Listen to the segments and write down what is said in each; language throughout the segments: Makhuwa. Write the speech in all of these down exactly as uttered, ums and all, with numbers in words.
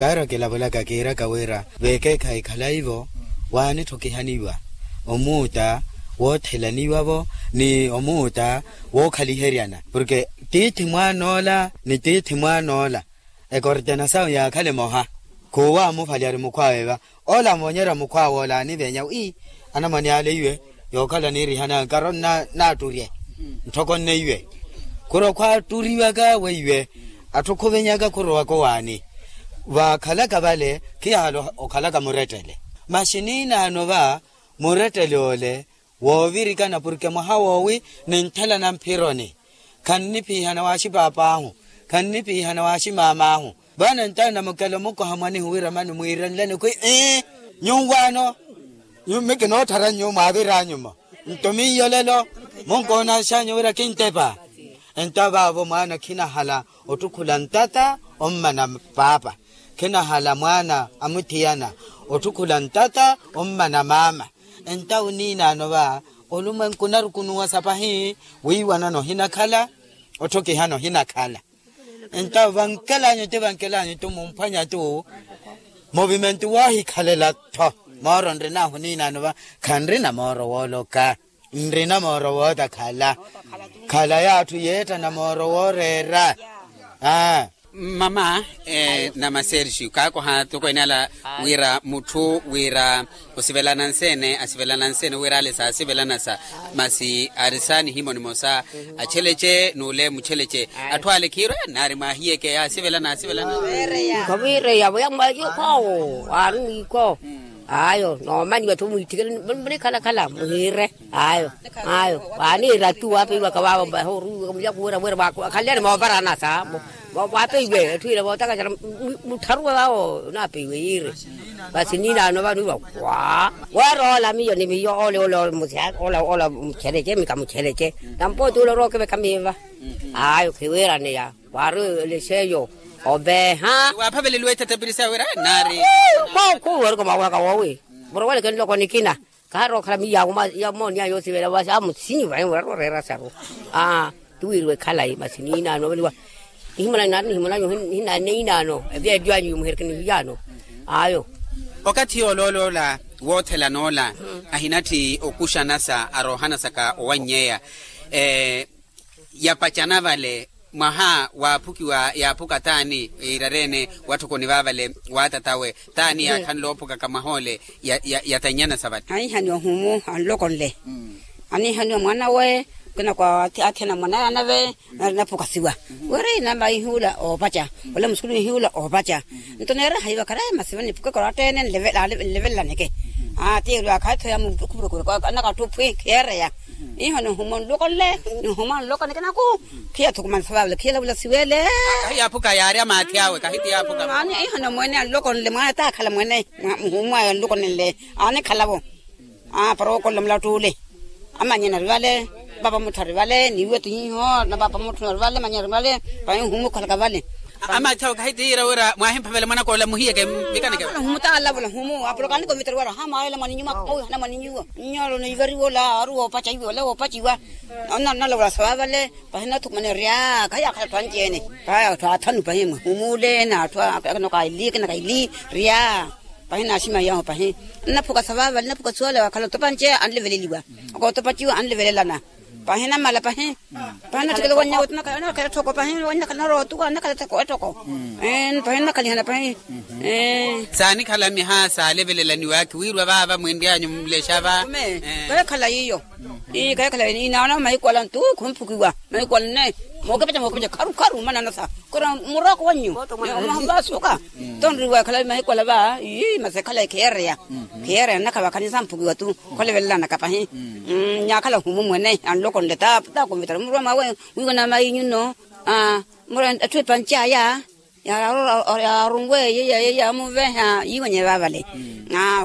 Aaro kilavulaka kiiraka wira veekeekhayi khalayi-vo waanitthukihaniwa omuuta woothelaniwa-vo ni omuuta wookhaliheryana porke tiithi mwaan'ola ni tiithi mwaan'ola ekortena sawe yaakhale emoha. Khuuwa amuvalyari mukhw'awe va ola amoonyerya mukhw'awe ola aaniveenya wi anamwane ale iwe yookhala niirihanaka nkarono naatturye ntthoko nne iwe. Khuro khwaatturiwaka weiwe atthu khuvenyaka khurowaka owaani vaakhalaka vale khiyahala okhalaka murettele. Masi niinaano va murettele ole woovirikana porke mwaha woowi ninthelana mphironi khannipihana waaxipaap'ahu khannipihana waaximaam'ahu. Vano ntawe namukela omukoha mwanihu wira mani mwiirenleni khwi ii nyuwaano mi kinoottharanyu mwaavir'anyu-mo nto miyo lelo munkoonaaxanyu wira kintepa. Entawe vaavo mwaana khinahala ottukhula ntata ommana paapa khinahala mwaana a muthiyana ottukhula ntata ommana maama. Entawe oniinaano va olumwenku onarukunuwasa pahi wiiwanana ohinakhala otthukihana ohinakhala. Entawe vankelanyu ti vankelanyu ti mumphwanya ti muvimentu woohikhalela-tho mooro nrin'ahu oniinaano va khanrina mooro wooloka nrina mooro wootakhala. Khala y'atthu yeettana mooro wooreera. Mama, namaserxio kaakoha tokweene ala wira mutthu wira osivelana nseene asivelana nseene wira ale saasivelana sa masi ari saanihimoni mosa achelece n'ule muchelece atthu ale khiirwe nnaari mwaahiyeke yaasivelana asivelana. Khaviireyavo yamwaaci okhwawo aari mwiikho. Ayo noomanyiwa-tho mwiitthikele munikhalakhala muhiire. Ayo ayo waaniira attu waapeiwaka vaavo mbahe oruwiwaka mulyaku wira wira waakhaliyani moovarana sa waapeiwe etthu ila vootakacela muttharuwe vaavo onaapeiwe yiire. Vasi niinaano vaniiwa waa wooroola miyo ni miyo ole ole ole muchelece mika muchelece nampooti ole orookeveka miiva. Ayo khiwiiraneya waari olexeyo oveeha. Waaphaveleliwa ethetepiri sawe wira naari khuwerika mwaawaka woowi muroweleke nloko nikina khaari okhala miyawo ya mooniya yoosivela vasi amusinyi vaye murari oreera saru. Aa tiwiiriwe khalayi masi niinaano oveliwa nihimuna naari nihimuna nyu hinaneinaano eviya eddyo anyu yumuhereke nihiyaano. Ayo okathi yoolooloola woothelana ola ahinatthi okuxanasa aroohanasaka owannyeya yapacana vale mwaha waaphukiwa yaaphuka taani yiirareene watthokoni vaavale waatatawe taani yaakhanle oophukaka mwaha ole yatannyana sa vale. Anhihani ohumu anloko nle anihaniwa mwaanawe kinakwa athena mwanaya nave nari naphukasiwa wira inama ihiula oopaca wala musukulu ihiula oopaca. Nto neera haiva kharaye masi vaniphukaka oraatteene nlevelaneke. Aa tiirwe akhaatho ya mukhupurukure anakatthu phwi khiyeereya. Iho nihuma nloko nle nihuma nloko nikinaku khiya thukumani sa vavale khiya lavula siwele. Kahi yaaphuka yaari amaathi awe kahi ti yaaphuka. Iho ni mwene anloko nle mwaana taakhala mwene muhumu ayo anloko nle. Anikhala-vo aa para wookolela mulattu ule. Amanyana ari vale papa mutthu ari vale niiwe ti hiho na papa mutthu ari vale manyana ari vale. Pahi nhumu okhalaka vale. Amaathi awe kahi ti yiira wira mwaahimphavela mwanaka ola muhiyeke mikaneke nhumu taalavula nhumu apoloka anikomitari wira hamwaayela mwaninyuwa. Hana mwaninyuwa nnyolo niivariwa ola ari woopaca iwe ola woopaciwa. Onnalavula sa vavale pahi nathukumane rya khayaakhala atthu anci-ene. Pahi atthu athanu pahi mwe nhumu ule na atthu akanoka ili akinaka ili rya. Pahi naaximaiyahu pahi nnaphuka sa vaavale nnaphuka suwale waakhala otopa nce anleveleliwa okootopa ciwo anlevelelana. Pahi namala pahi pahi natthikela wanyawe ti nakhala nakhela etthoko pahi wanakhala narootuwa nakhala etthoko pahi nnakhalihana pahi. Saanikhala miha saalevelelaniwakhi wiiriwa vaava mwinry'anyu mulexa va. Kahikhalayi iyo. Ii kahikhalayi inaana mahiku ala ntu khumphukiwa mahiku ala nne. Mookepeca mookepeca kharu kharu mananasa kura muroko wannyu. Omahamba asuka tonriwa ekhalayi mahiku ala va ii masi ekhalayi khiyeereya. Khiyeereya nnakha vakhanisa mphukiwa tu kholevelelana kapahi. Nyaakhala ohumu mwene anlokonle ta ta kumitara murwa mwawe wiiwa na mayi nyuno. Mura atthu epanci aya yaarunwe yeya yeya amuveha yiiwanye vaavale.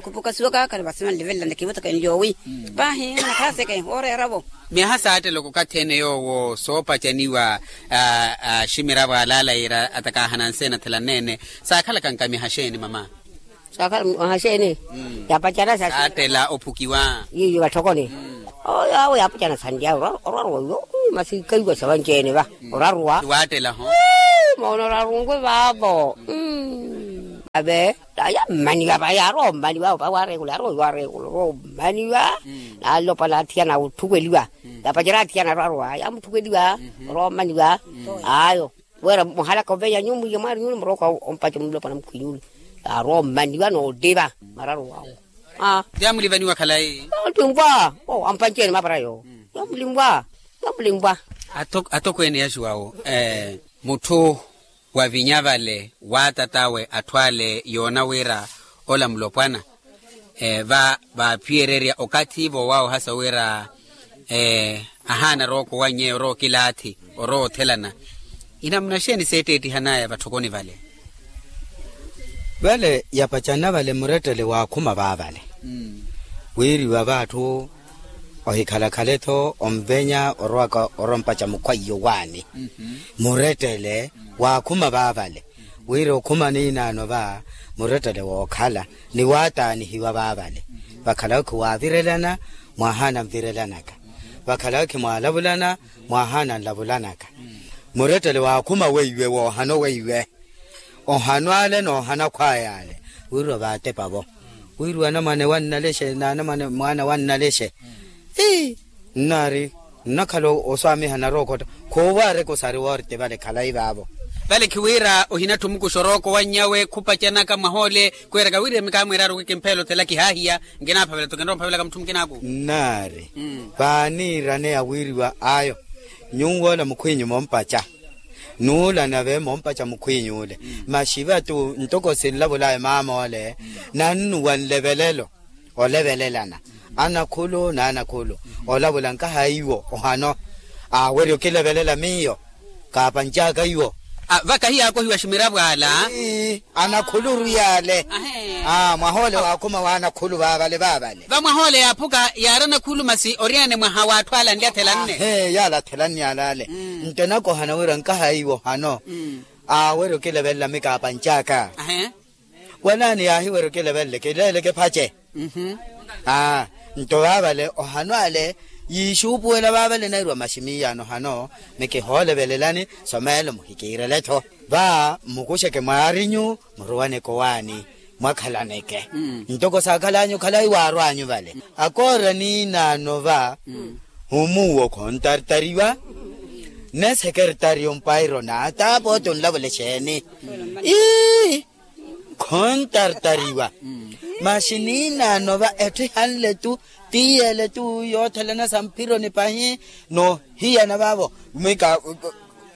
Khupukasiwaka khari vasi vanlevelelana kivotakani yoowi pahi nakhaaseke wooreera-vo. Miyaha saattela okakathi ene yoowo soopacaniwa aximiravo alaala yiira atakahana nseena athelanene saakhalaka nkamiha xeeni mama? Saakhala mwaha xeeni? Yaapacana saattela ophukiwa. Yiiyo vatthokoni oyo awo yaapacana sanlya orwaruwa yo masi kaiwa savanci-ene va orwaruwa. Waattela ho moona orarungwe vaavo. Ave, yammaniwa va yarommaniwa va warekula yarommaniwa. Nalopala athiyana otthukweliwa. Yapacerya athiyana arwarowa yamuthukweliwa. Orommaniwa. Ayo, wira muhalaka oveya nyuwo mwiya mwaari nyuwo muroka ompace mulopala mukhwinyuule. Yarommaniwa noottipa mararowawo. Yamulivaniwa khalayi. Yamulivwa. Ampanceni mapara yo. Yamulivwa. Yamulivwa. Atokweene yaxiwawo, mutthu wavinya vale waatat'awe atthu ale yoona wira ola mulopwana. Va vaaphiyererya okathi voowawohasa wira ahaana rooko wannyeya orowa okilaathi orowa othelana. Inamuna xeeni seetteettihan'aya vatthokoni vale? Vale yapacana vale murettele waakhuma vaavale. Wiiriwa vaatthu ohikhalakhala-tho onvenya orowaka orompaca mukhwaiyo waani. Murettele waakhuma vaavale wira okhuma niinaano va murettele wookhala ni waataanihiwa vaavale. Vakhala okhi waavirelana mwahaana nvirelanaka. Vakhala okhi mwaalavulana mwahaana nlavulanaka. Murettele waakhuma weiwe woohano weiwe. Ohano ale n'ohana akhwaya ale. Wiriwa vaatepa vo wiriwa anamwane wannalexe n'anamwane mwaana wannalexe. Ii nnaari nnakhala oswaamiha narookotta. Khuuvo areke osari woorte vale khalayi vaavo. Vale khiwira ohinatthu mukuxa orooko wannyawe khupacanaka mwahoole. Khwiiraka wiriwa mikaamweeraaru kikimphela othela kihaahiya. Nkinaaphavela-tho kinrowa mphavelaka mutthu mukinaaku. Nnaari vaaniiraneya wiriwa ayo. Nyuwo ola mukhwiinyu moompaca. Nuula nave moompaca mukhwiiny'ule. Masi va tu ntoko sinlavul'aya maam'ole nannuwa nlevelelo. Olevelelana anakhulu n'anakhulu. Olavula nkaha iwo ohano. Awerya okilevelela miyo kaapanc'aka iwo. Vaka hiyaakohiwa ximiravo ala. Anakhulu orwiy'ale. Mwahoole waakhuma w'anakhulu vaavale vaavale. Vamwahoole yaaphuka yaari anakhulu masi oriyane mwaha w'atthu ale anli athelanne. Yaala athelanne ale. Nto enakohana wira nkaha iwo hano. Aawerya okilevelela mikaapanc'aka. Walaani yaahiwerya okilevelela kileele kiphace. Nto vaavale ohano ale yiixuupuwela vaavale nairwa masi miiyaano hano. Mikihoolevelelani someelo muhikiirele-tho. Va mmukuxeke mwaarinyu muruwaneke owaani mwakhalaneke. Ntoko saakhal'anyu khalayi waarw'anyu vale. Akoora niinaano va omuuwo khontartariwa. Ne sekertari ompairo naataapooti onlavula exeeni. Ii khontartariwa. Masi niinaano va etthu ihanle-tu tiiyele-tu yoothelana sa mphironi pahi. Noohiyana vaavo mika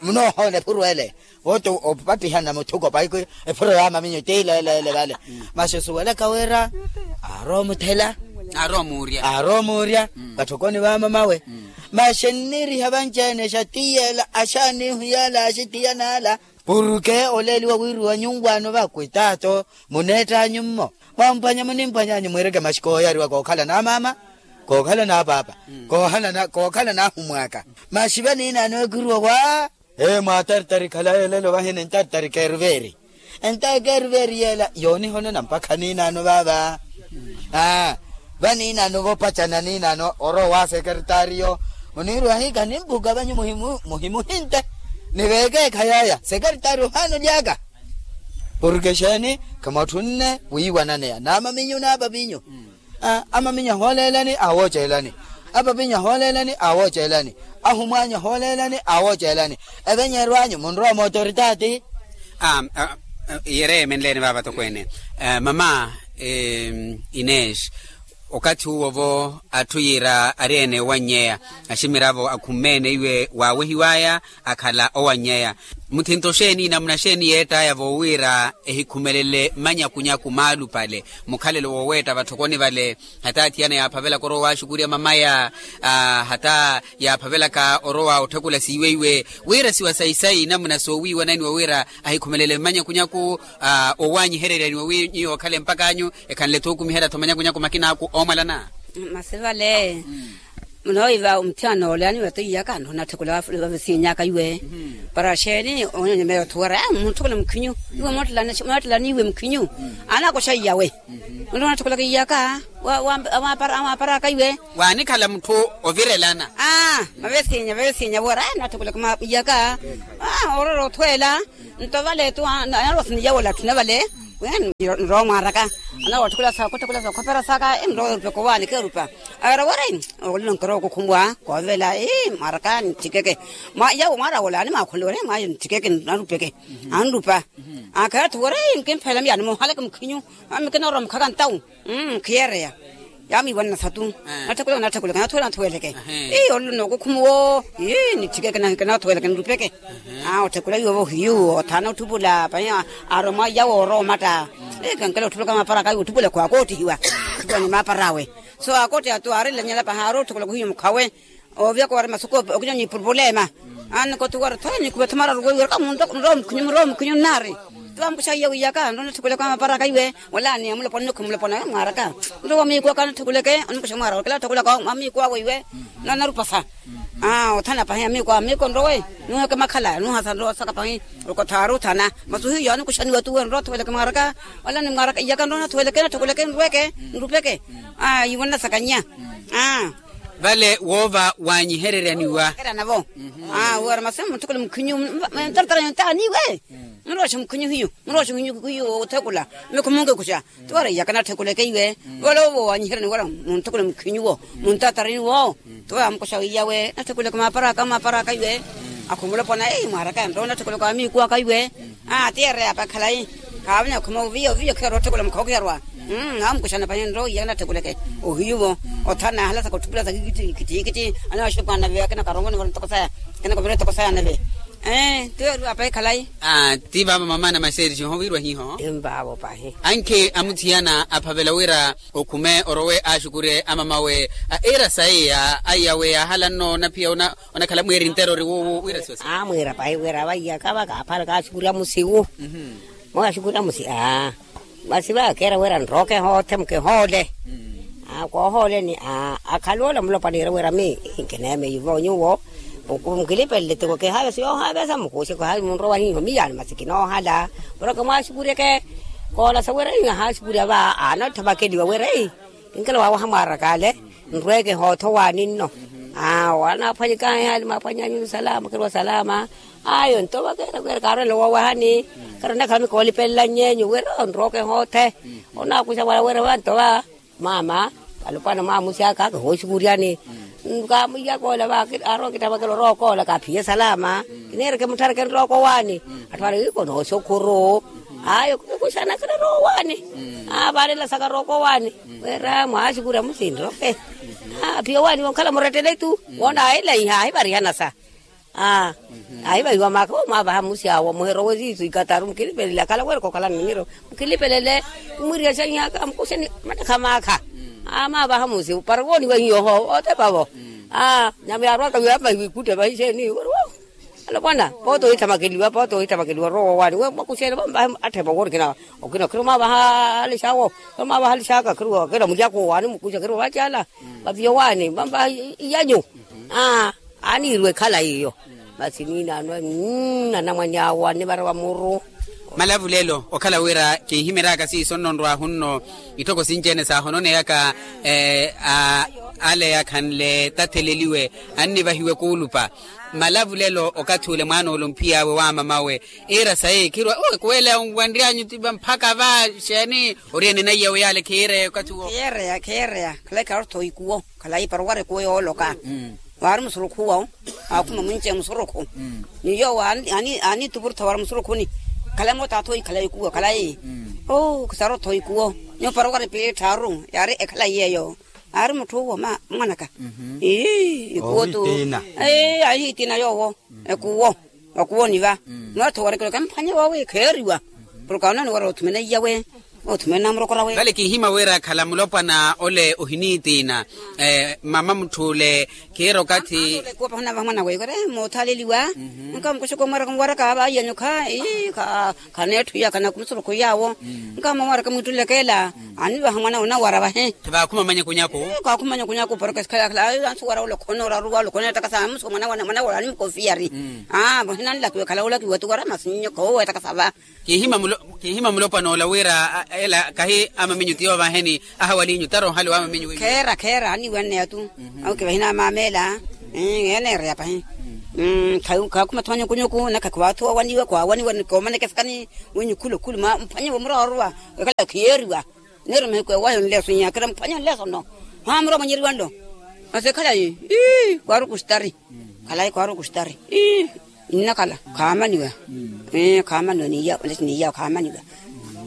munoohoona ephuru ele. Vooti opattihana muthuko pahi ephuro ya maminyu tiileeleele vale. Masi osuwelaka wira aarowa omuthela aarowa omuurya vatthokoni va mamawe. Masi enniiriha vanci-ene exatiiyela axaanihu yaala axitiyana ala. Porke oleeliwa wiiriwa nyuwaano vakwitaato muneett'anyu mmo. Mwamphwanya munimpwanyaanyu mwiireke masi kooyariwa kookhala n'amaama kookhala n'apaapa kookhala n'ahumw'aka. Masi vaniinaano ekwiruwa wa. Ee mwaatartari khalayi elelo vahi nintartari keeruveeri. Entayi keeruveeri yeela yoonihonona mpakha niinaano vaava. Aa vaniinaano voopacana niinaano orowa wa sekertariyo muniiriwa hiikha nimphuka vanyu muhimuhinte. Ni veekeekha yaaya sekertari ohaana oly'aka. Porke exeeni khimwatthu nne wiiwananeya n'amaminyu n'apavinyu. Amaminyu ahooleelani awooceelani. Apavinyu ahooleelani awooceelani. Ahumwaanyu ahooleelani awooceelani. Evenyeerw'anyu munrowa mootoritaati. Iyereeye menleeni vaava tokweene mama ineex. Okathi uwo-vo atthu yiira ari-ene owannyeya aximiravo akhumeene iwe waawehiw'aya akhala owannyeya. Muthinto xeeni namuna xeeni yeett'aya voowiira ehikhumelele mmanyakunyaku maalupale mukhalelo wooweetta vatthokoni vale. Hata athiyana yaaphavelaka orowa waaxukurya mamaya hata yaaphavelaka orowa otthekula siiweiwe wira siwa sayi-sayi namuna soowiiwananiwa wira ahikhumelele mmanyakunyaku. Owaanyihererya ni owiinyi yookhale mpak'anyu ekhanle-tho okumiherya-tho manyakunyaku makina aku oomwalana. Masi vale munooiva omuthiyana ole aniweta iyaka nonatthekula vavisiinyaka iwe. Para xeeni onyonyomera othuwera muntthekula mukhinyu iwe moottelaniiwe mukhinyu. Anakoxa iyawe. Onatthekula kiyaka waaparaka iwe. Waanikhala mutthu ovirelana. Aa mavesiinya vavisiinya wera natthekula iyaka. Orora othweela nto vale tu anarwa siniyawola atthu na vale. Nrowa mwaraka, anawatthukula sa khopera saka nrowa erupeka owaani keerupa. Aweera weri, olino nkirowa okukhumuwa koovela mwaraka nitthikeke. Yawo mwaara wola animaakhulele weri mwayo nitthikeke, narupeke. Anrupa. Akheera-tho weri, nkimpheela miyaani moohaleke mukhinyu. Ami kinoorowa mukhaka ntawu. Khiyeereya. Yaamwiiwanana satu. Natthekule natthekule kanathuweleke. Ii olilo nookukhumuwo. Ii nitthikeke, kanathuweleke nirupeke. Otthekula iwo-vo hiyu othaana otthupula pahi. Aaroma yawo orowa omatta. Ii kankela otthupula ka maapara aka iwe otthupula khwaakoottihiwa. Otthupula ni maapara awe. So akoottiha tu aarilanyela pahi aari otthekula khuhiyu mukhawe. Ooviyaka wari masuku okinyanya ipurupulema. Annikoti wari tho nikhuvetha mararu weiweraka munrowa mukhinyu munrowa mukhinyu nnaari. Tiwa mukuxa iya wiyaka nrowa natthekuleke wa mapara aka iwe. Wala ni amulopona nikhu mulopona mwaraka. Nrowa miiku aka natthekuleke onimukuxa mwaraka kila atthekulaka wa miiku awe iwe. Nrowa narupasa. Othana pahi amiiku awe amiiku nrowe. Nuheke makhala nuhasa nrowa saka pahi. Okothaari othana. Masi ohiyo anikuxaniwa tuwe nrowa atthekuleke mwaraka. Wala ni mwaraka iyaka nrowa natthekuleke natthekuleke nrweke nrupeke. Yiwonela sakanyiya. Vale woova wanyihereryaniwa. Aa wari masi muntthekule mukhinyu. Ntartara yontaani iwe. Muroxe mukhinyu hiyu muroxe mukhinyu hiyu othekula. Mikhu munkikuxa. Tiwari iyaka natthekuleke iwe. Vale woova wanyihereryaniwa wari muntthekule mukhinyu wo. Muntartarani wo. Tiwari amukuxa wiiya we natthekuleke maapara aka maapara aka iwe. Akhumulopona mwaraka nrowa natthekuleke wa miiku aka iwe. Aa ti ereya apa khalayi. Khaavanya khuma oviya oviya okhiherwa otthekula mukhawa okhiherwa. Amukuxana pahi nrowa iya natthekuleke. Ohiyu-vo. Othana ahalasaka otthupula saka ikittiikittiikittii. Anawaxuku anave akina karongoni vale ntoko saya. Akina kovira etoko saya anave. Ee tiweeriwa pahi khalayi. Aa ti vaavo mamaana maserixi ohowiirwa hiho. Ti nvaavo pahi. Ankhi amuthiyana aphavela wira okhume orowe axukurye amamawe. Iira sayi ya aiyawe yaahala nno onaphiya ona onakhala mweeri ntero ori wuuwu wira siwasi. Amwiira pahi wira vaiyaka vakaaphala kaaxukurya musiwu. Mwaxukurya musi aa. Masi vakeera wira nrowa okehoothe mukehoole. Koohooleni aa akhala ola mulopwana iira wira mi nkineemeyi vo nyuwo. Mukilipelele tiko kehaavesa yoohaavesa mukuxe kohaavesa munrowa hiho miyaani masi kinoohala. Mureke mwaaxukuryeke. Koolasa wira ihaxukurya va aana otthavakeliwa wira. Kinkela waawaha mwaaraka ale. Nrweke hootho waani nno. Aa waanaaphwanyikaahi hali maaphwanyaanyu salama kheruwa salama. Ayo nto vakeera kweera kaarwela wowahani. Kheera onakhala mikoolipelelany'enyu wira onrweke hoothe. Onaakuxa wala wira vanto va mama. Alopwana mwaamusi aka kihooxukuryani. Kaamwiya koola va aarwa kittavakela orowa okoola kaaphiye salama. Kiniireke mutthareke nrowa kowaani. Atthu ale iko nooxukhuru. Ayo kikuxana kira rowaani. Aa vaalela saka rooko waani. Wira mwaaxukurya musinroke. Aa phiyo waani wonkhala murettele tu. Woona aahilaiha aahivarihana sa. Aa aahivahiwa maaka wo mwaavaha musi awo muherowe siisu ikataru mukilipelele akhala wira kokhalani nimiro. Mukilipelele. Mumwiriya xanhiyaka mukuxeni mattakha maakha. Aa mwaavaha musi para wooniwa hiyo oho otepa vo. Aa nyama yaarwaka wiya vahiwa ikutta vahixeeni wira wo. Alopwana pooti ohithamakeliwa pooti ohithamakeliwa rowa waani we mwakuxeene vamvahe. Atthepa wori kina okina khiro mwaavaha alixawo. Khiro mwaavaha alixaka khiro wakeera mulyako waani mukuxa khiro vacala. Vaviyo waani vamvaha iyanyu. Aa aaniiriwa ekhala iyo. Masi niinaano anamwani awo anivara va muru. Malavulelo okhala wira kinhimeryaka siiso nno nrwahu nno. Itthoko sinci-ene saahononeyaka ale akhanle tatheleliwe. Annivahiwe kuulupa. Malavulelo okathi ule mwaana ole omphiy'awe w'amamawe. Iira sayi khirwa ekuweleya onwanry'anyu tipa mphaka va xeeni? Ori ene naiyawe yaale khiireya okathi uwo. Khiireya khiireya. Khalayi kharottho ikuwo. Khalayi para owara ekuwo yooloka. Waari musurukhu wawo. Aakhuma munci musurukhu. Ni yoowo aaniitupurutha wara musurukhuni. Khalayi moota athoyi khalayi ikuwo khalayi. Oo khisarotho ikuwo. Nyuwo para owara epiili etthaaru yaari ekhalayi yeeyo. Aari mutthu uwo mwanaka. Ii ikuwo tu. Ahihitina yoowo. Ekuwo. Wakuwo niva. Mwaatho warikelo kamphwanye wawe kheeriwa. Porke aonani wara othumene iyawe. Othumene namurokorawe vale kinhima wira akhala mulopwana ole ohiniitiina. Mama mutthu ole khiira okathi. Ekuwo pahuna vaha mwana weyo kore moothaaleliwa. Nkamukuxuka omwaraka muwaraka vaiya nyukha ii. Khaneetthu iya khanaku musurukhu yaawo. Nkamamwaraka mwittulekela. Anivaha mwana onawara vahe. Vaakhuma manyakunyaku. Kaakhuma manyakunyaku porke sikhala khala ansuwara olokhona oraruwa olokhona etaka sa muso mwana wala animukofiyari. Vahe nanlakiwe khala olakiwe tuwara masi nyoko owo etaka sa va. Kinhima mulopwana ola wira ela kahi amaminyu ti yoovaheni. Ahawalinyu tara ohali w'amaminyu wenyu. Kheera kheera aniiwanneya tu. Awo kivahina amameela. Eneereya pahi. Khaakhuma tho nyukunyuku naka khiwaathuwa waniwe khwawaniwe ni koomaneke sikani. Wenyu khulu khulu mphwanyiwe murooruwa. Wekhala khiyeeriwa. Neeri mahiku ewahi onleso nyakira mphwanyi onleso no. Haa muromonyeriwa nlo. Masi ekhalayi. Khwaaru kustari. Khalayi khwaaru kustari. Nnakhala khaamaniwa. Khaamaniwa niya onlesi niya khaamaniwa.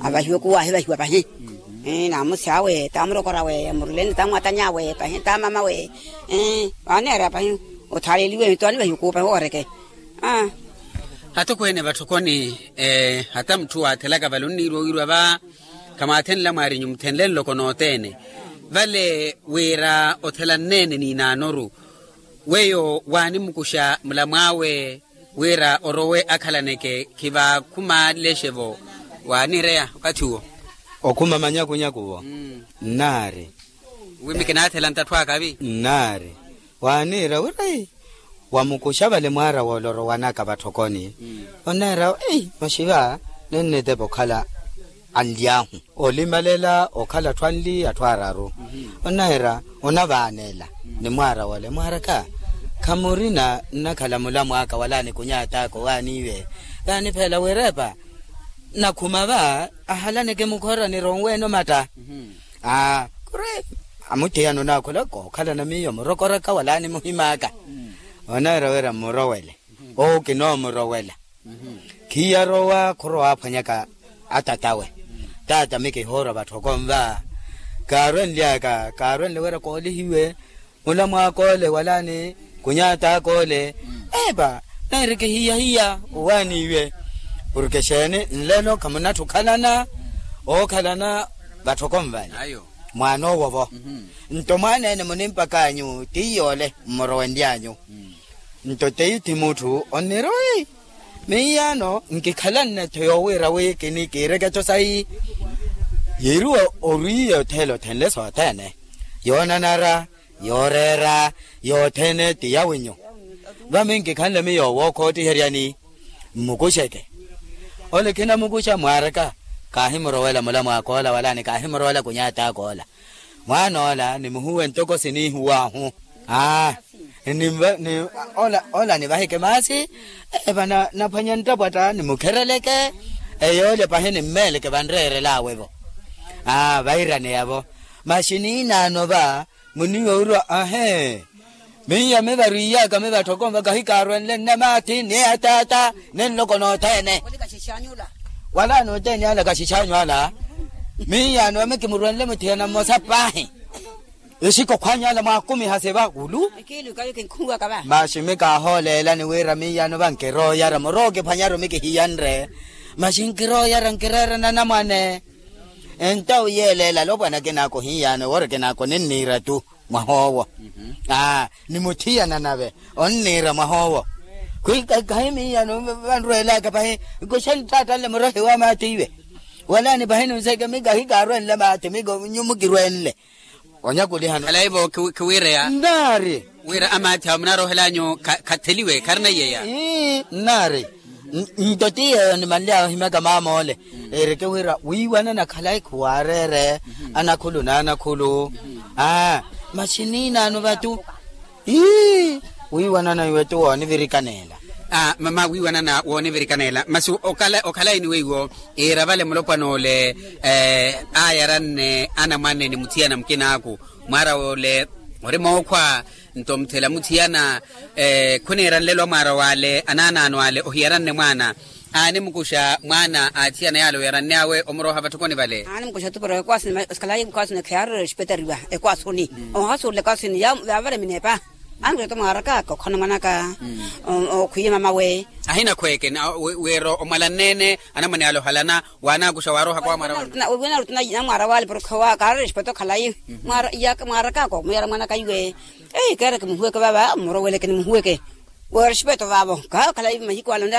Avahiwe kuwahi vahiwa pahi. Namusi awe tamurokorawe muruleni tamwatanyawe pahi tamamawe. Aneera pahi. Othaleliwe twanivahiwe kupahi owareke. Hata okhweene vatthokoni. Hata mutthu waathelaka vale onniirwa wiirwa va. Khamwaathenla mwaarinyu muthenle nloko nothene. Vale wira othela nneene niinaanoru. Weyo waanimukuxa mulamw'awe wira orowe akhalaneke khivaakhumalexe-vo. Waanireya okathi uwo. Okhuma manyakunyaku-vo. Nnaari. Wi mi kinaathela ntatthu akavi. Nnaari. Waaniira wira wamukuxa vale mwaara woole orowanaka vatthokoni. Onneera ei maxiva nennitepa okhala anly'ahu olimalela okhala atthu anli atthu araru. Onneera onavaanela ni mwaara wole mwaaraka khamurina nnakhala mulamw'aka wala nikunyat'aka owaaniiwe. Kaaniphela wirepa nakhuma va ahalaneke mukhora nironweene omatta. Aa kuri amuthiyana onaakhula kookhalana miyo murokoraka wala nimuhim'aka. Oneera wira mmurowele owo kinoomurowela. Khiyarowa khurowa aphwanyaka atat'awe. Tata mi kihoora vatthoko nva kaarwenly'aka kaarwenle wira koolihiwe mulamw'ak'ole wala ni kunyat'ak'ole. Epa neeri kihiyahiya owaaniiwe. Porke xeeni nlelo khamunatthi okhalana ookhalana vatthoko nvale. Mwaan'owo-vo nto mwaan'ene munimpak'anyu ti yoole mmurowenly'anyu. Nto teithi mutthu onnirowi miiyano nkikhalanne-tho yoowiira wi kini kiireke-tho sayi. Yiiriwa orwiiye othela othenle sothene yoonanara yooreera yothene ti yawinyu. Vami nkikhanle miyo wookhoottiheryani mmukuxeke. Ole khinamukuxa mwaaraka kaahimurowela mulamw'ak'ola wala ni kaahimurowela kunyat'ak'ola. Mwaan'ola nimuhuwe ntoko siniihuw'ahu. Aa ola nivahike maasi. Eva naphwanya nttapwatta nimukhereleke eyoolya pahi nimmeeleke vanreerel'awe-vo. Aa vairaneya-vo. Maxi niinaano va muniiwa wirwa ahe. Miiya mivarwiiyaka mivatthoko nva kahikaarwenle nnamaathi ni ataata ni nloko nothene. Walaani othene ala kaxix'anyu ala. Miiyaano va mikimurwenle muthiyana mmosa paahi. Exikokhw'anyu ala mwaakumiha seva wulu. Masi mi kaahooleelani wira miiyaano va nkirooyara murookiphwanyaru mikihiyanre. Masi nkirooyara nkireera nanamwane. Entawu yeeleela alopwana akinaaka ohiyaano ewori akinaaka oninniira-tu. Mwah'owo aa ni muthiyana nave onniira mwah'owo. Khwikakhayi miiyano vanrweelaka pahi nkuxani ttaattanle murohi wa maathi iwe. Wala ni pahi nunseeke mika hikaarwenle maathi mika nyumu kirwenle. Onyakulihano. Khalaivo khiwiireya nnaari. Wira amaathi awo munaroohel'anyu khatheliwe kharina iyeya. Ii nnaari. Nto ti yeeyo nimanly'awe ohimyaka maama ole. Ereke wira wiiwanana khalayi khuwaareere anakhulu n'anakhulu. Aa masi niinaano vatu. Ii wiiwanana iwe tu woonivirikaneela. Aa mama wiiwanana woonivirikaneela masi okhalayi ni weiwo. Iira vale mulopwana ole aayaranne anamwane ni muthiyana mukinaaku. Mwaara ole ori mookhwa. Nto muthela muthiyana khuniira nlelo amwaara w'ale anaanaano ale ohiyaranne mwaana. Aanimukuxa mwaana a athiyana yaale oyaranne awe omurooha vatthokoni vale. Aanimukuxa tupuro ekwaasu ni ekhalayi ekwaasu ni khiyaarola oxipetariwa ekwaasuni. Ohasuula ekwaasuni yaavale mineepa. Aanimukuxa tu mwaaraka kokhana mwanaka. Okhwiya mamawe. Ahinakhweeke wira omwalanne-ene anamwane ale ohalana. Waanaakuxa waaroohaka wa mwaara wale. Wina rutuna namwaara wale porokhe wa kaarera exipeta okhalayi. Mwaara iyaka mwaaraka koomuyara mwanaka iwe. Eyi keereke muhuweke vava mmuroweleke ni muhuweke. Weera exipeta vavo kaha okhalayi mahiku ale onde.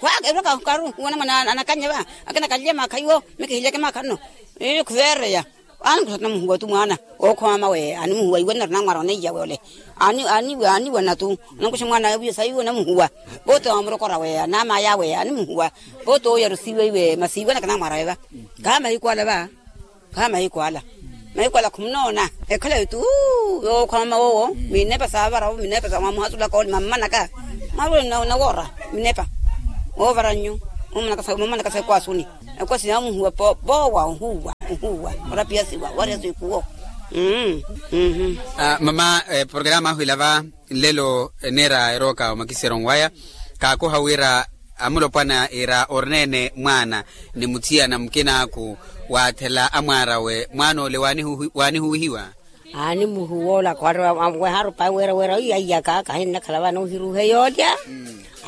Khwaaka erwaka karuhuwa namwane anakanye va. Akina kalye maakha iwo mikihilyeke maakha nno. Eyi khuveereya. Aani khusa tuna muhuwa tu mwaana ookhoma mama we aani muhuwa iwe nari namwaara oneiya we ole. Aani aani iwe aani iwe natu. Onankuxa mwaana awe wiyo sayi iwe onamuhuwa. Vooti oomurokora we anaamaya we aani muhuwa. Vooti ooyarusiwe iwe masi iwe naki namwaara we va. Khaha mahiku ala va. Khaha mahiku ala. Mahiku ala khumunoona. Ekhalayi tu. Yookhoma mama wowo mineepa saavaravo mineepa sa mwamuhasulaka ole mammanaka. Mwaruwe nawoora minepa. Woovara nnyu. Mumanakasa ekwaasuni. Ekwaasuni amuhuwa. Voowa ohuwa ohuwa. Orapiyasiwa wariyasiwa ikuwo. Mama, programa ahu ila va nlelo, eneera erooka omakisero nwaya. Kaakoha wira amulopwana ira orina ene mwaana ni muthiyana mukinaaku, waathela amwaarawe mwaana ole waanihuwihiwa. Aanimuhuwola khwari. Weharu pahi wira wira oiya aiyaka kahinnakhala vano ohiruuhe yoolya.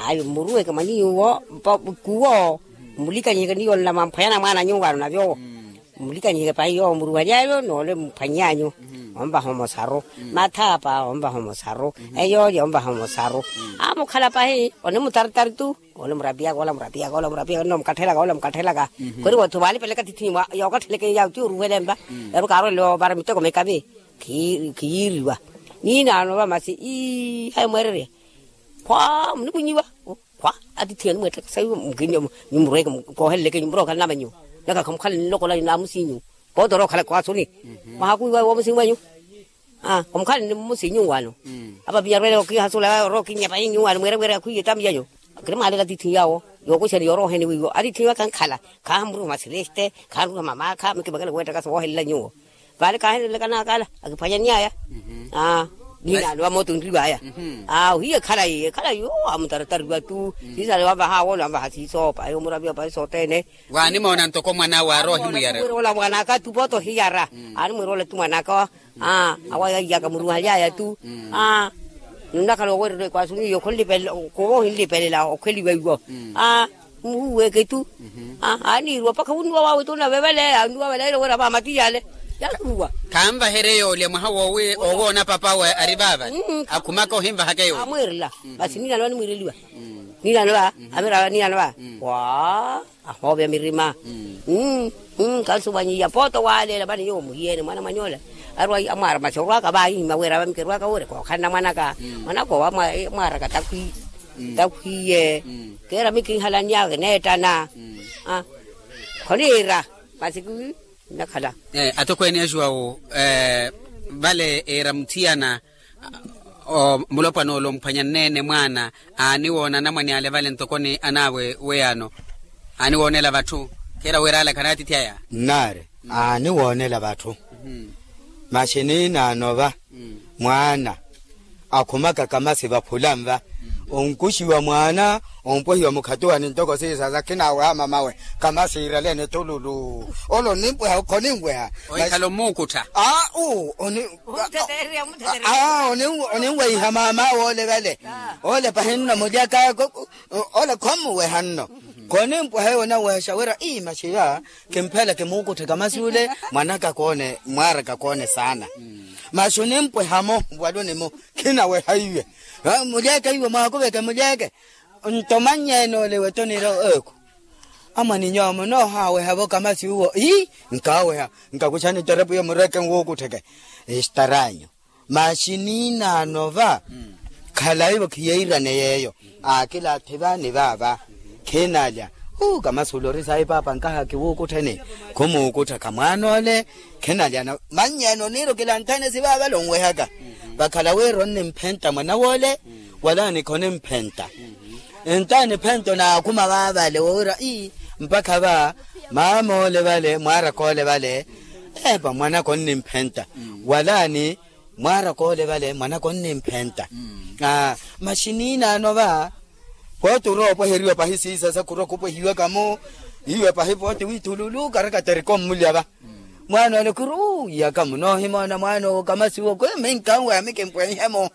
Ayo mmuruweke mwa nyuwo. Kuwo mmulikanyiheke ni yoolya mwampwanyana mwaana nyuwo ano navyo. Mmulikanyiheke pahi yoowo muruwaly'ayo noole mphwanny'anyu. Omvaha omosaru. Mathaapa omvaha omosaru. Eyoolya omvaha omosaru. Amukhala pahi onimutaritari tu. Ole murapiyaka ole murapiyaka ole murapiyaka nno mukathelaka ole mukathelaka. Khweri wootho vaalipeleka tithinyu yookatheleke yawo ti oruwele mva. Evo kaarwele ovara miteko mikavi. Khiyiiriwa. Niinaano va masi ii hayi mweererya. Khwa munikunyiwa. Khwa atithi enu mweettaka sayi. Mukini nyumurweke kooheleleke nyumurokhala nava nyuwo. Naka khamukhale nnilokola naamusinyu. Poota orookhala kwaasuni. Mwahakuwiwa woomusi mwenyu. Omukhale ni mmusi nyuwano. Apapiya arwele okiihasula orookinnya pahi nyuwano mweerewere akhwiiye tamiyanyu. Kiri mwaalela atithi yawo. Yookuxani yorooheni wiiwo atithi yawo kankhala. Khahamuriha masileste. Khahamuriha mamaakha mikimekele weettaka soohelela nyuwo. Vale kaahenelelaka naakala akiphwanyany'aya. Niinaano va mooto nriw'aya. Ohiye ekhalayi ekhalayi owo amutaratariwa tu. Siisale wamvaha awoole wamvaha siisoopa eyo muraviwa pahi sothene. Waanimoona ntoko mwan'awe aarowa ohimwiyara. Mwirola mwan'aka tu poota ohiyara. Aani mwirola tu mwan'aka. Awa yaiyaka muruhaly'aya tu. Aa. Nnakhala oweererya ekwaasuni iyo khunlipelela. Khuwo ohinlipelela okhweliwa iwo. Aa. Muhuweke tu. Aaniiruwa mpakha wunnuwa wawe tu nave vale anuwa vale aile oweera vaamati yale. Yanuwa. Khanvaherye yoolya mwaha woowi owoona papawe ari vaavale. Akhumaka ohinvahaka yoolya. Amwiirela. Masi niilano va nimwiireliwa. Niilano va. Amirava niilano va. Waa. Ahoovya mirima. Kansuvanyiya poota waaleela vani nyuwo muhiyeene mwana mwanyoole. Arwa amwaara masi orwaka vaahihima wira vamikerwaka wure kookhalana mwanaka. Mwanaka owa mwaaraka takhwiiye. Keera mikinhalanyaka neettana. Khoniira masi kinnakhala. Atokweene axuwawu vale eera muthiyana. Mulopwana ole omphwanyaneene mwaana aaniwoona anamwane ale vale ntokoni anaawe weyano. Aaniwoonela vatthu. Kheera wira ale khanaatithi aya. Nnaari. Aaniwoonela vatthu. Maxi niinaano va mwaana akhumaka kamasi vaphula nva. Onkuxiwa mwaana ompwehiwa mukhatuwani ntoko siisasa khinaaweha mamawe. Kamasi iraleene thululu. Ole onimpweha khonimweha. Ohikhala omuukuttha. Aau. Oninweiha maama woole vale. Ole pahinno mulyaka. Ole khommuweha nno. Khonimpweha eyo onanwehexa wira ii maxiva. Kimphela kimuukutthe kamasi ule. Mwanaka koone mwaaraka koone saana. Maxi onimpweha-mo waluni-mo. Khinaweha iwe. Mulyeke iwe mwaakuveke mulyeke. Nto mannyeene ole iwe toniira eku. Amwaniny'awe munoohaaweha-vo kamasi uwo ii. Nkaaweha. Nkakuxani terepu iyo mureke nwuukuttheke. Estaranyu. Maxi niinaano va. Khalayi-vo khiyeirane yeeyo. Aakilaatthi va ni vaava. Khinalya. Uu kamasi ule ori sayi paapa nkaha kiwuukuttheni. Khumuukutthaka mwaana ole. Khinalyana mannyeene oniira okilanthene sivaavale onwehaka. Vakhala wira onnimphenta mwana woole. Wala nikho nimphenta. Ntaani phento naakhuma vaavale woowira ii. Mpakha va maama ole vale mwaaraka ole vale. Epa mwanaka onnimphenta. Wala ni mwaaraka ole vale mwanaka onnimphenta. Maxi niinaano va. Pooti orowa opweheriwa pahi siisasa khurwa khupwehiwaka-mo. Iwe pahi pooti wiithululu karakaterika ommulya va. Mwaana ole khuri uu iyaka munoohimoona mwaana owo kamasi uwo khwiminkanweha mikimpwenhe-mo.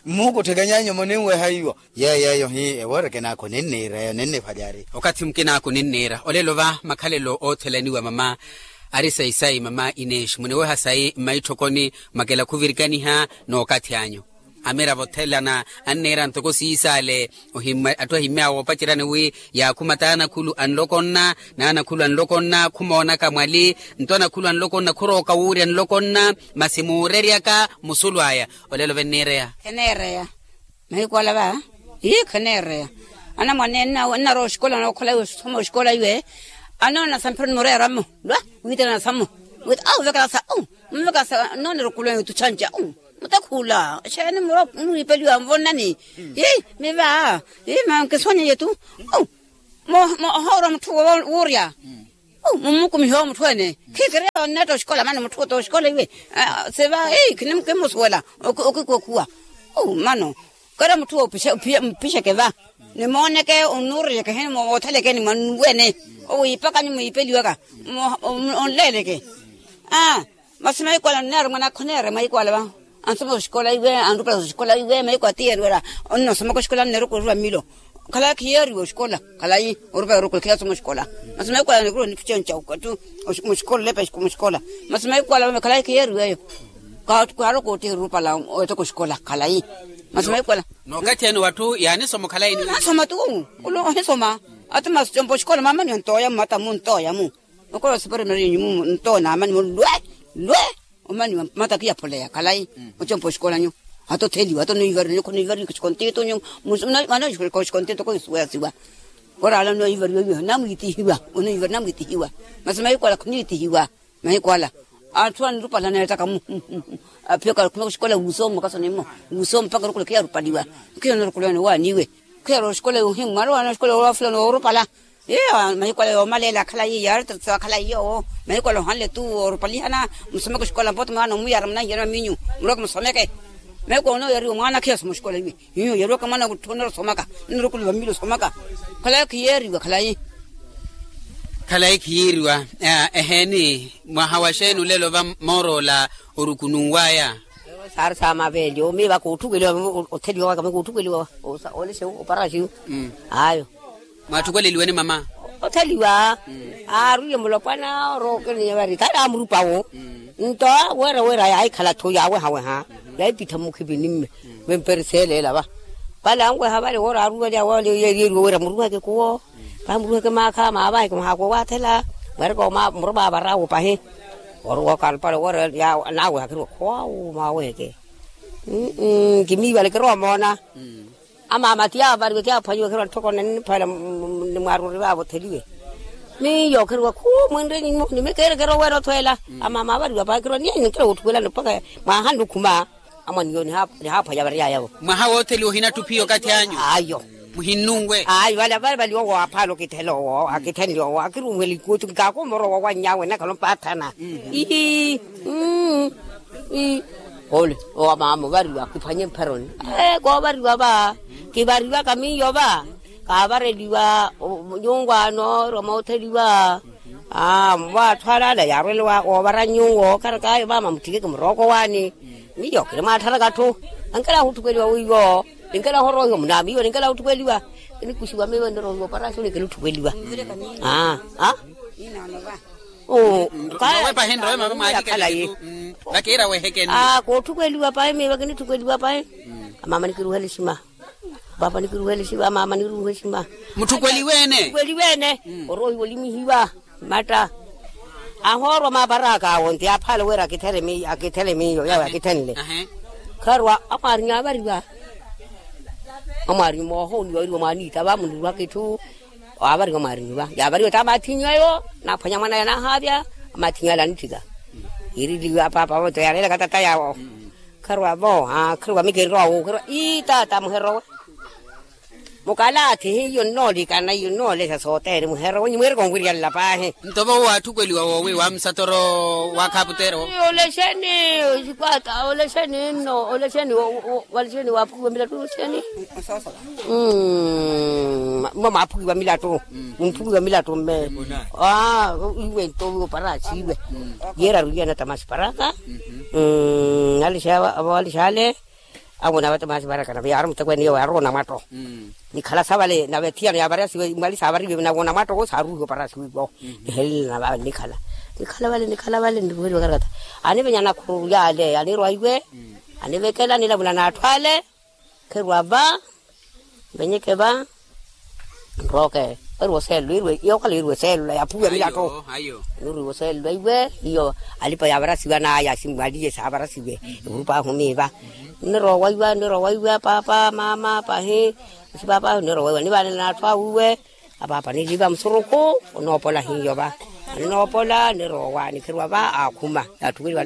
Mmuukutthekenyanyu muninweha iwo. Yeeyo eyo hi ewooreke naakhu ninniira eyo ninnivalyari. Okathi mukinaaku ninniira olelo va makhalelo oothelaniwa mama. Ari sayi sayi mama ineexi muniweha sayi mmaitthokoni. Makela khuvirikaniha n'okathi anyu. Amiravo othelana anniira ntoko siisale. Atthu ahimmy'awe oopaceryani wi yaakhuma t'anakhulu anloko nna n'anakhulu anloko nna khumoonaka mwali. Nto anakhulu anloko nna khurooka wuurya nloko nna. Masi muureryaka musulu aya. Olelo venniireya. Kheneereya. Mahiku ala va ii kheneereya. Anamwane nnarowa oxikola nookhola iwe osoma oxikola iwe. Anoona samphiro nimoreera mmo lwa wiitana samu. Wita au vekela sa u. Mvekela sa noonera okulu anyu tuxanca u. Khula xeeni mwiipeliwa nvonnani. Miva. Mankisonyeyetu. Ohoorwa mutthu wuurya. Mummukumihiwa mutthu ene. Khikiriya onneetta oxikola mano mutthu ota oxikola iwe. Seva. Khinimusuwela. Okikokhuwa. Mano kara mutthu mpixeke va. Nimooneke onnuuriyeke heni moothelekeni mwannuwene. Owiipakanyi mwiipeliwaka. Onleeleke. Masi mahiku ala onneera mwanakha oneera mahiku ala va. Ansoma oxikola iwe anrupela oxikola iwe mahiku atiyeeriwela. Onnosomaka oxikola anneera okurwa mmilo. Khalayi khiyeeriwa oxikola. Khalayi orupela orukulu khiyasoma oxikola. Masi mahiku ala nikuruwa nithu chenca oxikola olepa muxikola. Masi mahiku ala khalayi khiyeeriwa eyo. Kaaro koottihira orupela. Owettaka oxikola khalayi. Masi mahiku ala. N'okathi ene watthu yaanisoma okhalayi ni nasoma tu. Olo ohisoma. Ati masi compa oxikola maamaniwa ntooya mmata mu ntooya mu. Okora osipari mari nyumu nto naamani mu lwe lwe. Omani mata kiyaphuleya khalayi. Ocompa oxikola nyu. Hata otheliwa hata onoivariwa nyu khoniivariwa khuxikontito nyu. Mwana oxikontito khoisuweyasiwa. Oraala onoivariwa iwe namwitihiwa. Onoivariwa namwitihiwa. Masi mahiku ala khoniitihiwa. Mahiku ala atthu anirupala neettaka mu. Aphiyaka khumeka oxikola wuusooma okasonemo. Wuusooma mpakha orukulu khiyarupaliwa. Khiyo norukulu ene waaniwe. Khiyarwa oxikola yohimwa arowana oxikola yoofulana oorupala. Iyo mahiku ala yoomaleela akhalayi yaari totso akhalayi yoowo. Mahiku ala ohanle tu oorupalihana. Musomeke oxikola mpooti mwaana omuyara munahiyana maminyu. Murweke musomeke. Mahiku ala onooyariwa mwaana khiyasoma oxikola iwe. Iyo yariwaka mwaana wutthu onorosomaka. Onorukulu vamili osomaka. Khalayi khiyeeriwa khalayi. Khalayi khiyeeriwa. Eheeni. Mwaha wa xeeni olelo va mooroola orukununwaya. Saari saamaveeli omiiva kootthukeliwa. Otheliwa waka mwe kootthukeliwa. Oleshe oparaxiwo. Ayo. Mwaatthukeliwene mama. Otheliwa. Aarwiye mulopwana orokeniye vari khali amurupawo. Nto weera weera yaahikhala-tho yaawehaweha. Yaahipittha mmukhipini mme. Vemperiseeleela va. Vale anweha vale woora aarwiwaliya wale yeeriwe weera muruheke kuwo. Pahi muruheke maakha maavaheke muhaakuwe waathela. Mweereke murupa avaraawo pahi. Oruwa okalpale woora naaweha khiriwa khwawu maaweheke. Kimiivale kirowa moona. Amaama ti yaavariwe kiyaaphwanyiwe khirwa ntthoko nenniphwela. Nimwaaruri vaavo otheliwe. Miyo khiriwa khu mwinre nyumo nimikeerekere oweera othweela. Amaama aavariwa pahi khirwa niye ninkira woothuwelani mpakha mwaahanle okhuma. Amwaniyo nihaaphwanya variyayavo. Mwaha wootheliwa ohinatthu phiya okathi anyu. Ayo. Muhinnunwe. Ayo vale vale vale owo aaphaala okithela owo akithenle owo akirunhwela ikuwo ti nkaakomorowa owanny'awe nnakhala ompaathana. Ii. Ole owo amaama ovariwa kiphwanye mpheroni. Koovariwa va. Kivariwaka miyo va. Kaavareliwa nyungwaano orwa mootheliwa. Aa mwaatthwalala yaarwele woovara nyuwo okarakaayo maama mutthikeke murooko waani. Miyo kinimwaattharatthu. Enkela ohutthukweliwa wiiwo. Enkela ohorohiwa munaamiiwe enkela ohutthukweliwa. Enikuxiwa miiwe niroohiwa oparaxoni kinitthukweliwa. Aa. Nrowe pahi nrowe mama mwaahikela. Vakiira wehekeni. Aa kootthukweliwa pahi miiwe kinitthukweliwa pahi. Amaama nikiruhele exima. Paapa nikiruhele exima amaama niruhe exima. Mutthukweliweene. Oroohiwa olimihiwa. Matta. Ahoorwa maaparaka awo nti aaphaale wira akithele miyo yawe akithenle. Kharwa amwaarinya aavariwa. Amwaarinya moohooniwa wiriwa mwaaniita va muniruhaka itthu. Aavariwa amwaarinya va yaavariwa ti amathinyu ayo. Naaphwanya mwanaya naahaavya. Amathinyu ale anitthika. Yiiriliwa paapa vo to yaarelaka tata yawo. Kharwa vo aa kharwa mikirowa wu kharwa ii tata muherowe. Mukalathi hiyo nnoolikana iyo nnoolesya sothene muherowe nyi mwiireke onwiryalela paahi. Nto vo waatthukweliwa woowi wa musatoro wa khaputeero. Olexeni. Xikwata olexeni nno olexeni. Walexeni waaphukiwa milattu olexeni. Mma mwaaphukiwa milattu. Mumphukiwa milattu mme. Iwe nto wiwo paraka siiwe. Yeeraru iyana tamasi paraka. Alixaale. Awona vata masi varakana viyaaru mutekweene iyo yaaru onamwatto. Nikhala sa vale nave thiyano yaavariyasiwe mwali saavariwe nave onamwatto wo saaruhiwe oparasiwe iwo. Nihelelana vale nikhala nikhala vale nikhala vale niruheliwe karakata. Anivenya nakhuru yaale anirwa iwe. Anivekela nilavula n'atthu ale. Kherwa va. Venyeke va. Nrooke. Eriwa oseelula iirwe yookhala iirwe oseelula yaaphuwiwa milatto. Niriwa oseelula iwe iyo. Alipa yaavarasiwa n'aya simwaliye saavarasiwe. Evurupa ahu miiva. Nnirowa iwa nnirowa iwa paapa maama pahi. Sipaapa ahu nnirowa iwa nivaanela n'atthu awe iwe. Apaapa niliva musurukhu. Onoopola hiyo va. Anoopola niroowa nikheriwa va aakhuma yaatthukeliwa.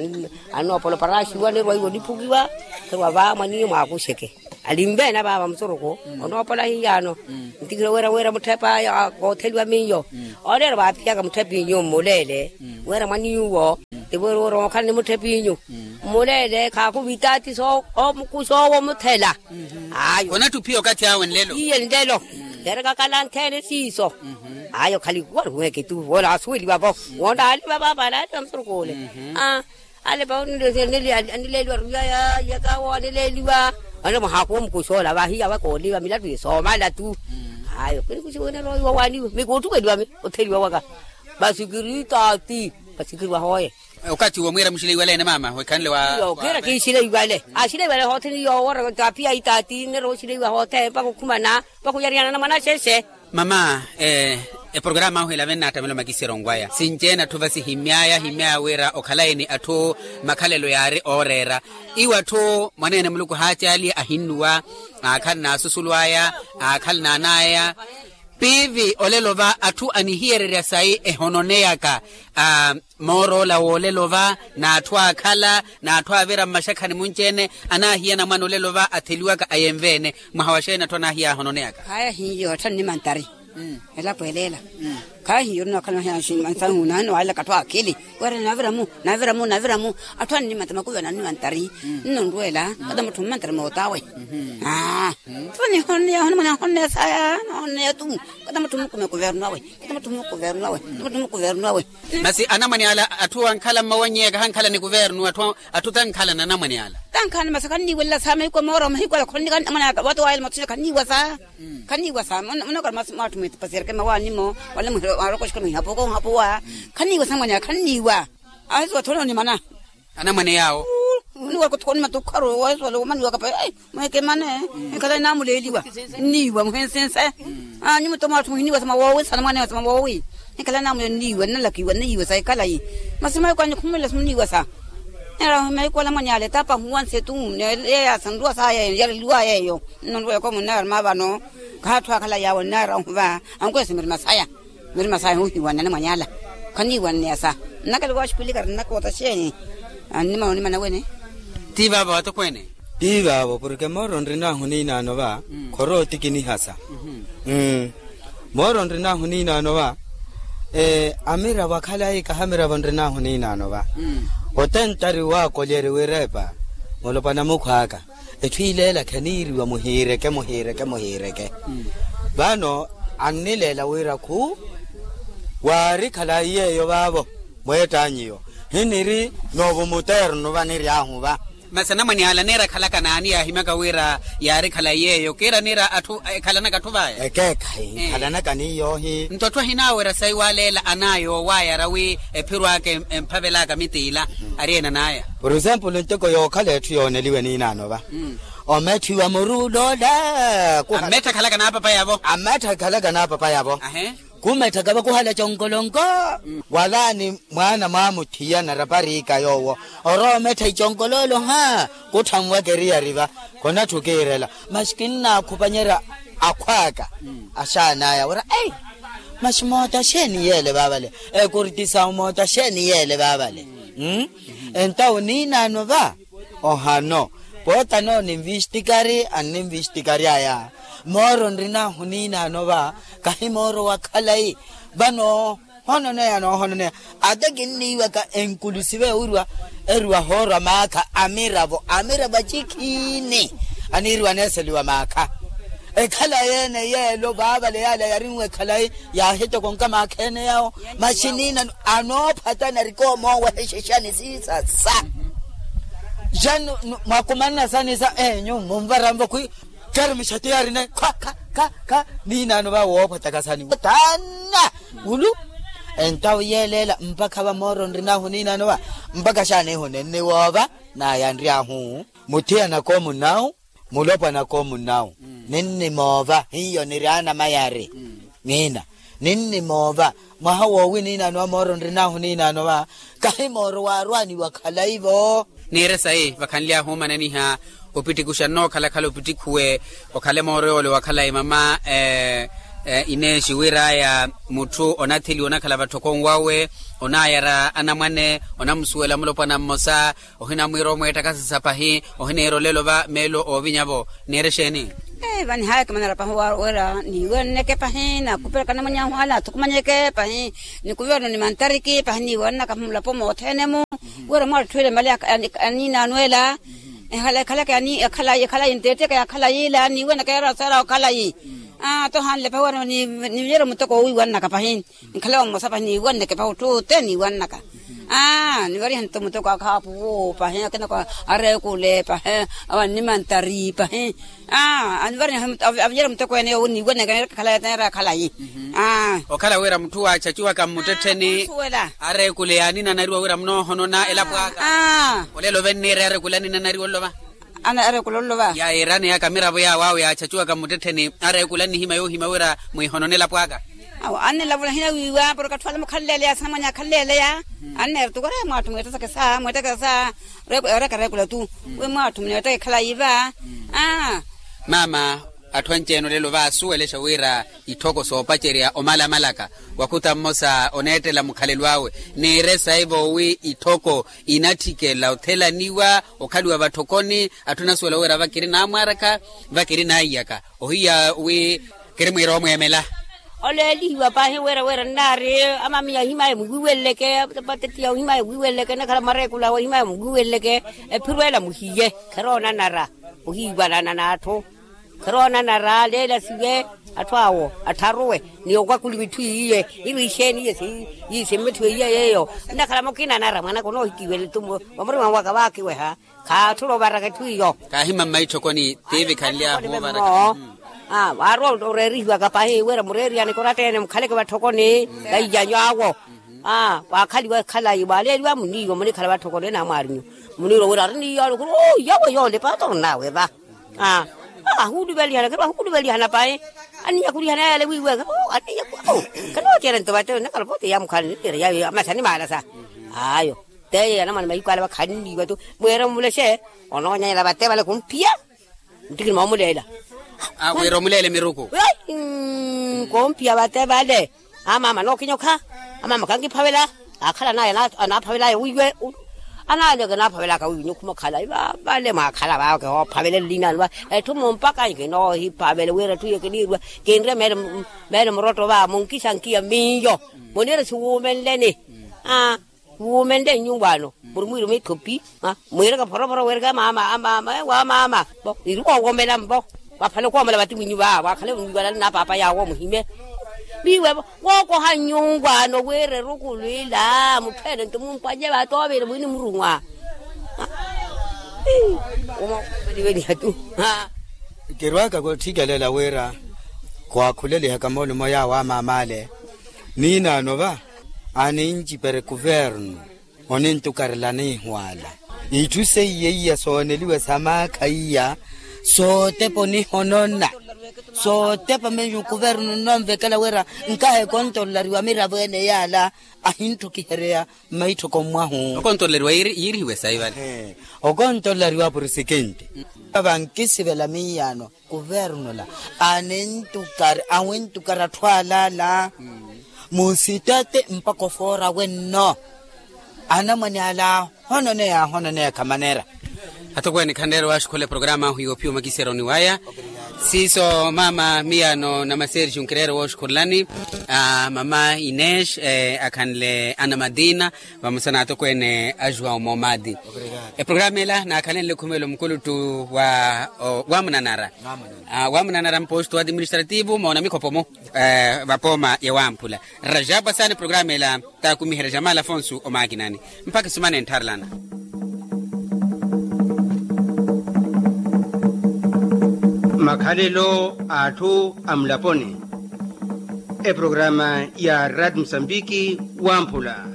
Anoopola oparaxiwa nirwa iwo niphukiwa. Nirwa va mwaniyo mwaakuxeke. Alimveena vaava musuroko onoopola hiyaano. Ntikira wira wira mutthepa kootheliwa miyo. Oreera vaaphiyaka mutthepinyu mmuleele wira mwaniyuwo. Tivo rookhala ni mutthepinyu mmuleele khaakhuva itaati soowo muthela. Ayo. Onatthi ophiya okathi awe nlelo. Iye nlelo. Yeerekakala nthene siiso. Ayo khali wari weeke tu woola asuweliwa vo. Woola aliva vaava alaaliva musuroko ole. Alepa anileeliwa ruyaya yakawo anileeliwa. Ane mwahaakuwa omukuxoola vahiya wakooliva milatu ye soomala tu. Ayo kinikuxiwene roiwa waaniwe mikuuttukeliwa mi otheliwa waka. Masi kiri taati. Masi kiri wahooye. Okathi uwo mwiira muxileiwaleene maama wekhanle wa kiira kixileiwale. Axileiwale hoothene yoowo taphiya itaati nneera oxileiwa hoothene mpakha okhumana mpakha oyarihanana mwana axexe. Mama, eprokarama ahu elave nnaattamela omakisera onwaya sinci-ene atthu vasi himmyaya himmyaya wira okhalayi ni atthu makhalelo yaari ooreera. Iwo atthu mwaneene muluku haacaaliye ahinnuwa. Aakhala n'asusulu aya. Aakhala n'anaya. Piivi olelo va atthu anihiyererya sayi ehononeyaka moor'ola w'olelo va n'atthu aakhala n'atthu aavira mmaxakhani munci-ene. Anaahiya anamwane olelo va atheliwaka ayenve-ene. Mwaha wa xeeni atthu anaahiya ahononeyaka? Khaya hiyo atthu annimantari. Elapo eleela. Khaya hiyo orina okhala mahiya nsahu naani waalelaka atthu akhili. Wira navira-mu navira-mu navira-mu. Atthu annimantari makuvi anannimantari. Nno nrweela kata mutthu mmantari mootawe. Aa. Tho nihoneya ohonimwana ahoneya saya nahoneya tu. Kata mutthu mukumi kuvernu awe. Kata mutthu mukumi kuvernu awe. Kata mutthu mukumi kuvernu awe. Masi anamwane ala atthu ankhala mmawannyeya kahankhala ni kuvernu atthu tankhala n'anamwane ala. Tankhala ni masi khanniiwelela sa mahiku a mooro mahiku ala khonnika anamwane ala wati waayela matusina khanniiwa sa. Khanniiwa sa. Munokhala masi mwatthu mwitipasiyereke mawaani-mo wala mwarokoxeke mwihapuka ohapuwa. Khanniiwa sa anamwane ala khanniiwa. Ahisuwa tthone onimana. Anamwane yaawo. Oniwaka othukoni matukharu wasuwala womaniwaka pa. Mwekemane. Ekhala enaamuleeliwa. Nniiwa muhensense. Anyu muto mwatthu muhiniiwa sa mawoowi sa anamwane sa mawoowi. Ekhala enaamuleeliwa nnalakiwa nniiwa sa ekhalayi. Masi mahiku anyu khumulila simuniiwa sa. Neera mahiku ala mwanyaala etaapa ahuwanse tu. Neeya sa nruwa saya eyo yareliwaya eyo. Nno nruwa ekoomo nnaaruma vano. Khatthu akhalayi awo nnaara ohuva. Ankwesa mirima saya. Mirima saya ohiwanana mwanyaala. Khaniiwanneya sa. Nnakela waxipilika rinnakoota xeeni? Annimana onimana wene. Ti vaavo vatokweene. Ti vaavo porke mooro nrinahu niinaano va. Khorooti kinihasa. Mooro nrinahu niinaano va. Amiravo akhalayi kaha amiravo nrinahu niinaano va. Otentari waakolyeri wirepa. Mulopwana mukhw'aka. Etthu ileela kheniiriwa muhiireke muhiireke muhiireke. Vano annileela wira khu waari khalayi yeeyo vaavo. Mweettanyiyo hiniri noovo muternu vaniryahu va. Masi anamwane ala neera akhalaka naani yaahimyaka wira yaari khalayi yeeyo kiira niira atthu ekhalanaka atthu vaya? Ekeekhayi nkhalanaka niiyoohi. Nto atthu ahinaawerya sayi waleela anaayo waayara wi ephiro aka emphavelaka mitiila. Ari ena anaya? Por exemplo nteko yookhala etthu yooneliwe niinaano va. Ometthiwa muru uloola. Ammettha akhalaka n'apapayavo. Ammettha akhalaka n'apapayavo. Kumetthaka vakuhala conkolonko. Walaani mwaana mwaamutthiya narapariika yoowo. Orowa omettha iconkoloolo ha kutthanwaka eriyari va. Khonatthu kiirela masi kinnaakhupanyerya akhw'aka. Axaan'aya wira ei. Masi moota xeeni yeele vaavale? Ekurtisawu moota xeeni yeele vaavale? Entawo niinaano va. Ohano pootano ninvistikari anninvistikary'aya. Mooro nrinahu niinaano va. Kahi mooro wa khalayi. Vano hononeya noohononeya. Ata kinniiwaka enkulusive ewiriwa eriwa hoorwa maakha amiravo amiravo acikhiini. Aniiriwa aneeseliwa maakha. Ekhalayi ene yeelo vaavale yaala yarinwe ekhalayi. Yaahitokonka maakha ene yawo. Masi niinano anoophatana arikoomoowehexexani siisasa. Xani mwakumanna sani sa enyu munvaranvo khwi. Keri mixati yarine kha kha kha kha. Niinaano va woophataka sani taana. Ulu entawo yeeleela mpakha va mooro nrinahu niinaano va. Mpakha xaanihu ninniwoova. Naya nryahu muthiyanaka omunnawu. Mulopwanaka omunnawu. Ninnimoova hiyo niri anamayari. Niina ninnimoova. Mwaha woowi niinaano va mooro nrinahu niinaano va. Kahi mooro waarwaaniwa khalayi-vo. Niire sayi vakhanly'ahu omananiha. Opitikuxa nnookhalakhala opitikhuwe okhale mooro yoole wa khalayi mama. Ineexi wir'aya mutthu onatheliwa onakhala vatthokoni wawe, onayara anamwane, onamusuwela mulopwana mmosa, ohinamwiira omweettakasisa pahi, ohiniira olelo va meelo oovinya-vo. Niire exeeni? Vanihaakimana rapahi wira niiwenneke pahi nakupelaka namwany'ahu ale athukumanyeke pahi, nikuverno ni mantariki pahi niiwennaka mulapo mothene-mu. Wira mwatthu ele mali aniina anwela, ekhalaka ekhalayi ntetteke ya khalayi ila niiwennaka yaraseera okhalayi. Aa tohanle pahi wira niiwere muteko owiiwannaka pahi. Nkhala wa mmosa pahi niiwanneke pahi otthu ote niiwannaka. Aa nivarihani to muteko akhaapuwo pahi akinako, areekule pahi, awanni mantari pahi. Aa anivarihani avinyere muteko ene yowo niiwanneke neera khalayi. Aa okhala wira mutthu waachachiwaka mmuttettheni, areekule aninanariwa wira munoohonona elapo aka. Olelo venniire areekule aninanariwa olova. Ana areekula olova. Yayiirani yaka miravo yaawo awo yaachachiwaka mmuttettheni areekula nnihimya yoohimya wira mwiihonone elapo aka. Awo annilavula hinawiiwa porke atthu ale mukhalleeleya sinamwanya akhalleeleya. Anneera tu kore mwatthu mweettasakesa mweettakesa. Oreka areekula tu wi mwatthu muneettaka ekhalayi va. Aa mama, atthu anci-ene olelo vaasuwelexa wira itthoko soopacerya omalamalaka, wakhuta mmosa oneettela mukhalelo awe niire saivo wi itthoko inatthikela othelaniwa okhaliwa vatthokoni. Atthu anasuwela wira vakiri naamwaaraka, vakiri naiyaka ohiya wi kiri mwiira omweemela. Oleelihiwa pahi wira wira nnaari amamiya ohimaya muwiiweleleke, patettiya ohimaya muwiiweleleke nakhala mareekula awe ohimaya muwiiweleleke. Ephiro ela muhiye khiroonanara ohiiwanana n'atthu. Khiroonanara leela siwe atthu awo attharuwe ni okwakuli mitthu iiye. Iru ixeeni iye simmuthiwe iye yeeyo. Nnakhala mukina anara mwanaka onoohikiwela tu vamurima waka vaakiweha. Khaatthula ovaraka etthu iyo. Kaahima mmaitthokoni tiivikhanlyahu ovaraka. Aa waarowa oreerihiwaka pahi wira mureeriyani koratta-ene mukhaleke vatthokoni. Vaiyanyu awo. Aa waakhaliwa ekhalayi waaleeliwa muniiwa munikhala vatthokoni enamwaarinyu. Muniirwa wira ari niiyo alukuru oo iyawe yoole paata orinawe va. Aa ahuuluvelihana khiro ahuuluvelihana pahi. Aninyakhulihana yale wiiweke oo aninyakhulihana. Khanooceera nto vatewe nnakhala pote yaamukhala niniira yawe amasa nimaalasa. Ayo teyo yanamwana mahiku ale vakhanniiwa tu. Mweera omulexe onoonyanyela vate vale khumpiya. Ntikini moomuleela. Wira omuleele miruku. Koompiya vate vale. Amaama nookinyokha. Amaama kankiphavela. Akhala naye anaaphavelaya wiiwe. Anaale kanaaphawelaka wiiwe nyukhuma okhala vale mwaakhala vaawe kihoophavele nlinaani va. Etthu mumpaka nkinoohiphavele wira etthu iyo kiniirwa. Kinre meelo murotto va munkisankiya miyo. Muniire siwuumenleni. Aa wuumenle nnyuwaano. Muri mwiiruma ithopi. Mwiireke phoroporo weereke amaama amaama ewo amaama. Vo iri woowomela mvo. Vaphale okoomela vatiminyu va waakhale mwiiwalale na paapa yaawo muhime. Miiwe vo wookoha nnyuwaano wira erukulu ila mutthu ene nto mumpwanye vatoovire mwini murumwa. Uma oveliveliha tu. Kirwaaka kotthikelela wira khwaakhulelihaka moolumo yaawo amaama ale. Niinaano va aninci pere kuvernu onintukarela niihwaala. Itthu seiya iya sooneliwa sa maakha iya sootepa onihonona. Sootepa menyu kuvernu nnonvekela wira nkaha ekontololariwa miravo ene yaala ahinttukihereya mmaitthoko mwahu. Okontololariwa yiirihiwe sayi vale. Okontololariwa purisikinti. Vankisivela miiyano kuvernula anintukari awintukari atthu alaala. Musitati mpakha ofoora wenno anamwane ala ahononeya ahononeya khamanera. Atokweene khanreere waaxukhula eprograma ahu yoophiya omakisero ni waya. Siiso mama miyano namaserixi nkireere wooxukhulelani mama ines akhanle ana madina vamosa n'atokweene a juwao moomati. Eprograma ela naakhalenle khumelo mukuluttu wa wamunanara. Wamunanara mposto administrativo moona mikhopo-mo vapooma ya wamphula. Rajapwa saana eprograma ela taakumiherya jamal afonso omaakinani. Mpakha esumana entharelana. Makhalelo a atthu a mulaponi. Eprograma ya rad musambiki wamphula.